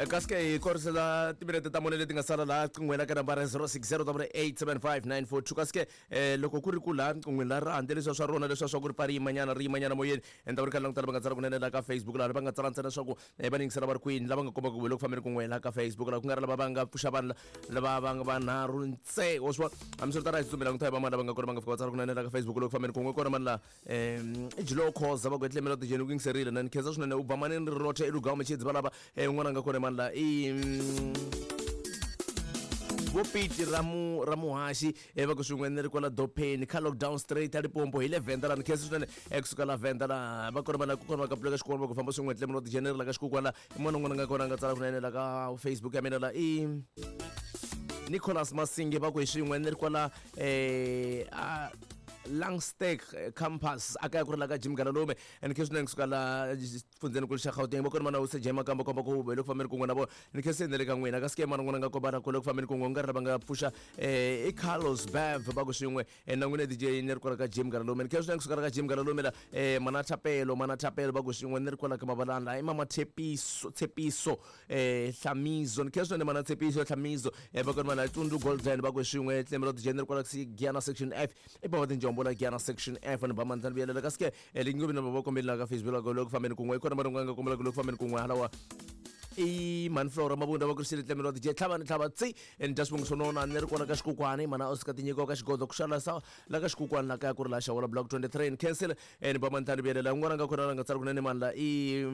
Kasi ke hi korisela timinete ta mune leti nga sala laha qinghweni ka nambara 06087594 kasi ke loko ku ri ku laha qinghweni la ra handle leswiya swa rona leswiya swa ku ri pfa ri yimanyana ri yimanyana moyeni ni ta va ri kha ni languta lava nga tsala kunene laha ka Facebook laha va nga tsala ntsena leswaku va ni yingisela va ri kwini lava nga komba ku le ku fambeni kun'we laha ka Facebook laha ku nga ri lava va nga pfuxa vanhu lava va nga vanharhu ntse wa swi vona hambiswiritano a hi tsutsumela languta hi van'wana lava nga kona va nga fika va tsala kunene laha ka Facebook loko fambeni kun'we kona mani laha i jilo khoza va ku etlemela tijeni ku yingiserile na ni khensa swinene u ba manini ri rothe elugama machedzi valava un'wana a nga kona mani laha i vo piti ra mu ra muhaxi va ku swin'we ni ri kwala dopeni kha lockdown straight a Limpopo hi le Venda la ni khensa swinene kusuka la Venda la va kona vana ku kona va ka puleka xikolo va ku famba swin'we tlemela tijeneri la ka xikuku la i munhu un'wana nga kona a nga tsala kunene la ka Facebook ya mina la i Nicholas Masinge va ku hi swin'we ni ri kwala a Langsteak campus a kaya ku ri la ka Jim Galalume and khe swinene kusuka la fundzeni kulu xa Gauteng va kona mana use Jema kamba komba ku le ku fambeni kun'we na vona ni khe se le ka n'wina kasi ke mana n'wana nga komba ku le ku fambeni kun'we nga ri lava nga pfuxa i Carlos Bev va ku swin'we na n'wina DJ ni ri kwala ka Jim Galalume ni khe swinene kusuka la ka Jim Galalume la mana Thapelo mana Thapelo va ku swin'we ni ri kwala ka Mabalana la i mama Tshepiso Tshepiso Hlamizo ni khe swinene mana Tshepiso Hlamizo va kona mana Tundu Golden va ku swin'we tlemelo DJ ni ri kwala Giyana section F i bava tinjombo la Giyana section F ni ba mandla ni vuyelela kasi ke lingovi na va kombeli la ka Facebook la ku fambeni kun'we i kona va nga kombela ku le ku fambeni kun'we halawa i mhani Flora Mabunda va ku ri tlemelo DJ tlhava ni tlhava tsi ni dya swivongo swo nona ni ri kwala ka xikukwani mana Oscar tinyiko ka xigodo ku xala sa la ka xikukwani la kaya ku ri la xawula block 23 ni cancel ni ba mandla ni vuyelela un'wana nga kona la nga tsala kunene mani la i